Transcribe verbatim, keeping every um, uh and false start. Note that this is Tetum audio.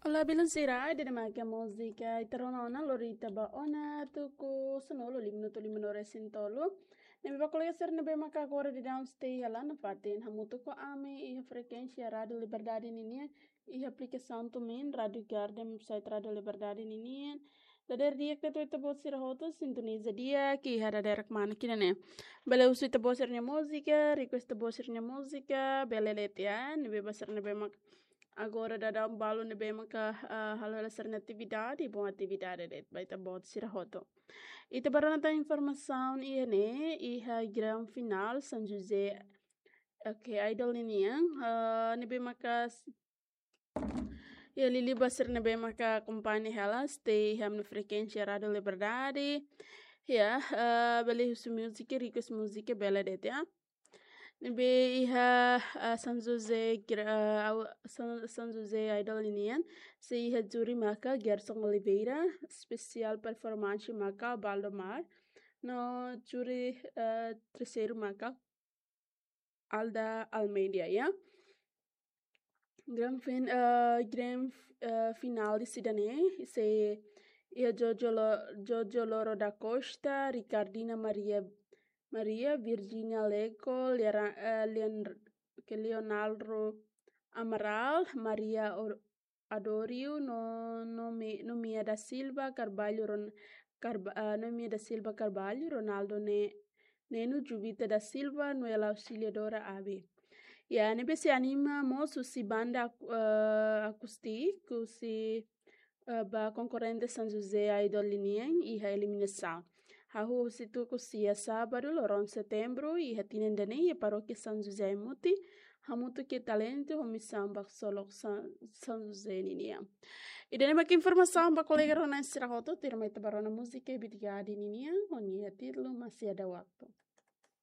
Olá, belun sira, ida-ne'e mak múzika ita rona ona lori ita ba ona tuku sanulu lima minutu lima no resin tolu. Ne'ebé ba kolega sira ne'ebé maka agora daudaun stay hela nafatin hamutuk ho ami iha frekuénsia Rádiu Liberdade ninian, iha aplikasaun TuneIn, Rádiu Garden, site Rádiu Liberdade ninian. Dadeer di'ak ba ita-boot sira hotu sintoniza di'ak iha dadeer kmanek ida-ne'e. Bele husu ita-boot sira-nia múzika, request ita-boot sira-nia múzika, bele de'it ya, ne'ebé ba sira ne'ebé mak agora daudaun balu ne'ebé maka, ah, halo hela sira-nia atividade, bom atividade de'it ba ita-boot sira hotu. Ita ba rona tan informasaun iha ne'e, iha grande final São José. Ok, idol ninian, ah, ne'ebé maka s-, ya, liuliu ba sira ne'ebé maka akompaña hela stay iha ami-nia frekuénsia Rádiu Liberdade. Ya, ah, bele husu múzika, request múzika, bele de'it ya. Ne'ebé iha, ah, São José, gra-, ah, au-, São, São José Idol ninian, sei iha júri maka Gerson Oliveira, espesiál performance maka Baldomar, no júri, ah, terseiru maka Alda Almeida, ya. Grande fin-, ah, grande, ah, final ida-ne'e, sei iha Jojo Lo-, Jojo Loro da Costa, Ricardina Maria, Maria, Virginia Leco, Liara-, eh, Leon-, ke Leonardo Amaral, Maria Or-, Adório, no, Nome-, Nomia da Silva Carvalho, Ron-, Carva-, ah, Nomia da Silva Carvalho, Ronaldo Ne-, Neno, Juvita da Silva, Noela Auxiliadora, Abi. Ya, ne'ebé sei anima mós husi banda, eh, akústiku, husi, eh, ba konkorrente São José Idol ninian iha eliminasaun. Hahú husi tuku sia sábadu, loron setembru, iha tinan ida-ne'e, iha Parókia São José Aimuti, hamutuk ho talentu, ho misaun ba ksolok São, São José ninian. Ida-ne'e mak informasaun ba kolega rona sira hotu, tuirmai ita ba rona múzika Ibit Gadi ninian, ho nia títulu Masih Ada Waktu.